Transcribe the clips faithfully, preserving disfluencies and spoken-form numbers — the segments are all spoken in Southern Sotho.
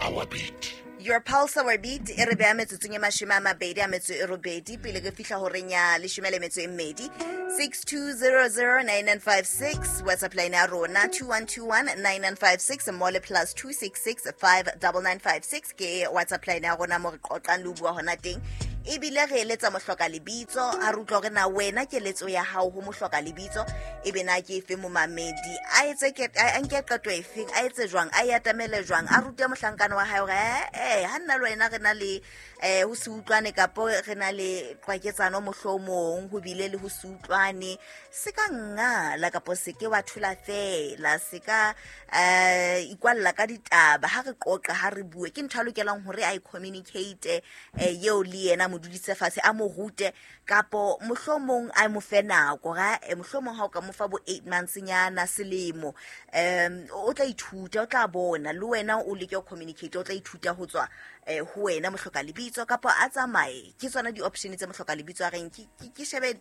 our beat. Your pulse, our beat e re beha metsotsong e mashome a mabedi a metso e robedi pele re fihla horeng ya leshome le metso e mmedi. Six two zero zero nine nine five six WhatsApp line ya rona, two one two one nine nine five six mole plus two six six five double nine five six ke WhatsApp line ya rona mo re qoqang le ho bua hona teng. Ebile re eletsa mohloka lebitso, a re utlwa hore na wena keletso ya hao ho mohloka lebitso e be na ke efe. Momamedi a etse ke a nke qeto efeng, a etse jwang, a e atamele jwang, a rute mohlankana wa hae hore eh ha nna le wena re na le eh ho se utlwane kapo re na le qwaketsano, mohlomong ho bile le ho se utlwane, se ka ngala kapo se ke wa thula fela, se ka eh ikwalla ka ditaba. Ha re qoqa, ha re bue, ke ntho a lokelang hore a e communicate eh eo le yena, mo dudise fatshe, a mo rute, kapo mohlomong a mo fe nako ga eh, mohlomong ha o ka mo fa bo eight months nyana, selemo, um o tla ithuta, o tla bona le wena o leke ho communicate, o tla ithuta ho tswa eh, ho wena mohloka lebitso, kapo a tsamaye. Ke tsona di-option tse mohloka lebitso a reng ke ke- ke shebe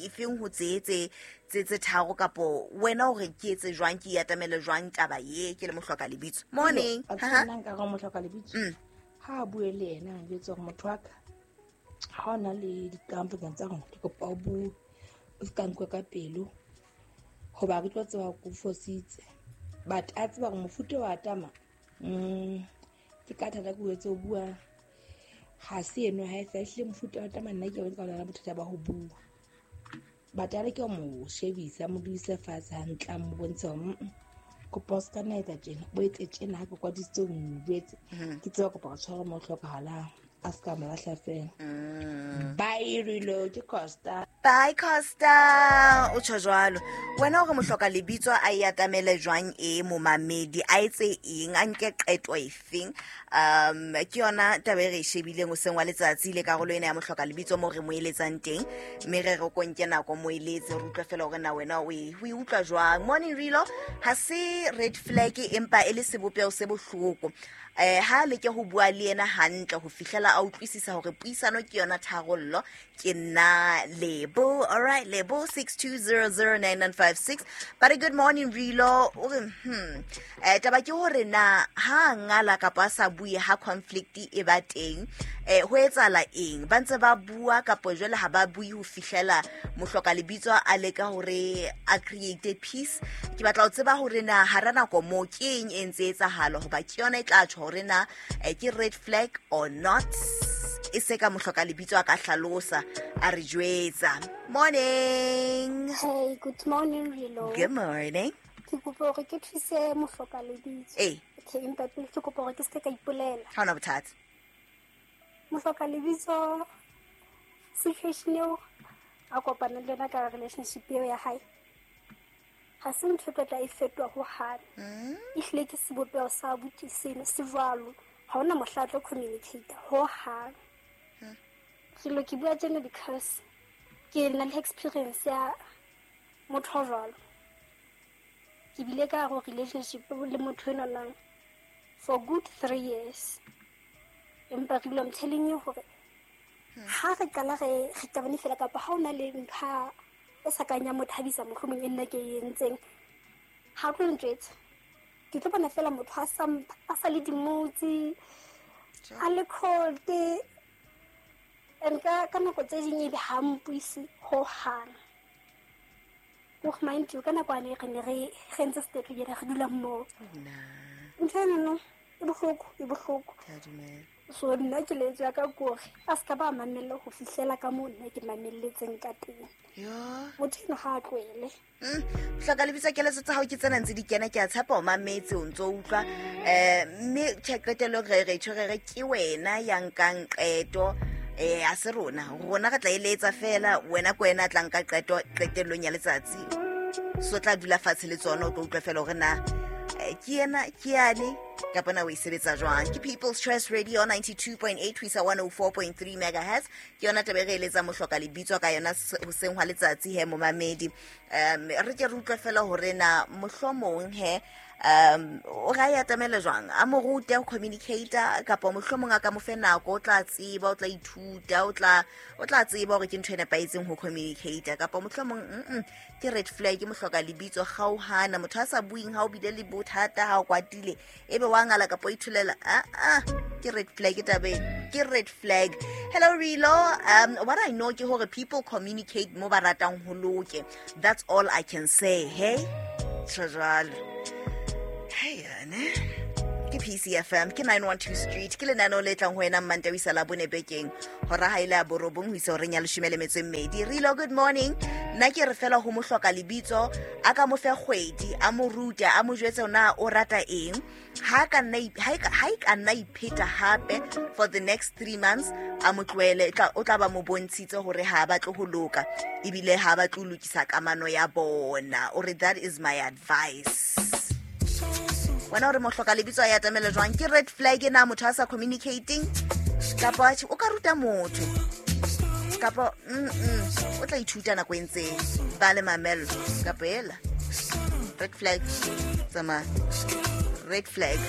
efeng ho tse tse tse tse tharo, kapo wena o re ke etse jwang, ke atamele jwang taba ye ke le mohloka lebitso. Morning. A Ha, ha. Nna nka re mohloka lebitso Mm. ha a bue le yena, a jwetse hore motho wa ka, ha o na le dikampo pakeng tsa rona, ke kopa o bue, o se ka nkwe ka pelo, hoba ke tlo tseba hore ke o fositse. But a tseba hore mofuta wa tama mm, ke ka thata ke o etse o bua ha se eno ha e sa ehlile mofuta wa tama. Nna ke bone ka lona bothata ba ho bua, but a leke ho mo shebisa, a mo dudise fatshe hantle, a mo bontshe hore mm, kopa o se ka nna etsa tjena, o etse tjena, ha ke kwadisitse o mo jwetse, ke tseba kopa go tshwara mo o hlokahalang, a se ka mo lahla fela. Mm. Bye Rilo, ke Costa. Bye Costa. O tjho jwalo wena hore mohloka lebitso a e atamele jwang e momamedi, a etse eng, a nke qeto efeng. um ke yona taba e re e shebileng hoseng wa letsatsi le karolo ena ya mohloka lebitso mo re mo eletsang teng, mme re re ko nke nako mo eletse, re utlwe fela hore na wena o e o e utlwa jwang. Morning Rilo, ha se red flag empa e le sebopeho se bohloko. eh ha leke ho bua le yena hantle ho fihlela a utlwisisa hore puisano ke yona tharollo. Ke nna Lebo. All right Lebo, six two zero zero nine nine five six. But a good morning Rilo, o re hmm eh taba ke hore na ha ngala kapa a sa bue ha conflict e ba teng, eh ho etsahala eng? Ba ntse ba bua kapo jwale ha ba bue ho fihlela mohloka lebitso a leka hore a create peace? Ke batla ho tseba hore na hara nako mo ke eng e ntse etsahala, hoba ke yona e tla tjho hore na eh, ke red flag or not. E se ka mohloka lebitso a ka hlalosa, a re jwetsa. Morning. Hey, good morning Rilo. Good morning. Ke kopa hore ke thuse mohloka lebitso. Ee. Okay, empa pele ke kopa hore ke seke ka ipolela. Ha ona bothata. Mohloka lebitso, situation eo a kopana le yona ka relationship eo ya hae, ha se ntho e tlo tla e fetoha hohang. Ehlile ke sebopeho sa abuti seno se jwalo. Ha hona mohla a tlo communicate hohang. Rilo, ke bua tjena because ke na le experience ya motho a jwalo. Ke bile ka hare ho relationship le motho enwanang for good three years. Empa Rilo, I'm telling you hore ha re qala re re qabane fela, kapa ha hona le ntho e sa kang ya mo thabisa, mohlomong e nna ke e entseng, ha tlo ntjwetsa. Ke tlo bona fela motho a sa a sa le dimotsi, a le cold, and ka ka nako tse ding ebe ha mpuise hohang. Hore mind you, ka nako ane re ne re re entse step together, re dula mmoho. Na. Ntho enono e bohloko, e bohloko. Ke a dumela. So nna keletso ya ka ke hore a se ka ba mamella ho fihlela ka moo nna ke mamelletseng ka teng. Yo. Motho eno ha a tlohele. Mm, hloka lebitso, keletso tsa hao ke tsena ntse di kena, ke a tshepa o mametse, o ntso utlwa. eh mme tjhe, qetellong re re tjho re re ke wena ya nkang qeto, eh a se rona. Rona re tla eletsa fela, wena ke wena a tla nka qeto qetellong ya letsatsi. So tla dula fatshe le tsona, o tlo utlwa fela hore na eh, ke yena ke yane kapa na o e sebetsa jwang. Ke People's Choice Radio ninety-two point eight ho isa one oh four point three megahertz. Ke yona taba e re eletsang mohloka lebitso ka yona s- hoseng hwa letsatsi he momamedi. um re ke re utlwe fela hore na mohlomong he um o ra e atamele jwang, a mo rute ho communicate, kapa mohlomong a ka mo fe nako, o tla tseba, o tla ithuta, o tla o tla tseba hore ke ntho e nepahetseng ho communicate, kapa mohlomong mm ke red flag. Mohloka lebitso, kgaohana motho a sa bueng ha o bile le bothata, ha o kwatile ebe wa ngala kapa o itholela, ah ah, ke red flag tabeng, ke red flag. Hello Rilo, um what I know ke hore people communicate mo ba ratang ho loke. That's all I can say. Hey, tjho jwalo. Hey ane, ke P C F M, ke nine one two Street, ke lenaneo le tlang ho wena Mmantawisa la bone bekeng, hora ha ile ya borobong ho isa horeng ya leshome le metso e mmedi. Rilo, good morning. Nna ke re fela ho mohloka lebitso a ka mo fe kgwedi, a mo rute, a mo jwetse na o rata eng. Ha ka nna ip- ha e ka- ha e ka nna ipheta hape for the next three months, a mo tlohele. E tla- o tla ba mo bontshitse hore ha a batle ho loka, ebile ha a batle ho lokisa kamano ya bona. O re that is my advice. Wena o re mohloka lebitso a ya atamela jwang? Ke red flag na motho a sa communicating, kapa atjhe, o ka ruta motho, kapa mm -mm, o tla ithuta nako e ntseng ba le mamello, kapa ela red flag? Tsamaya, red flag.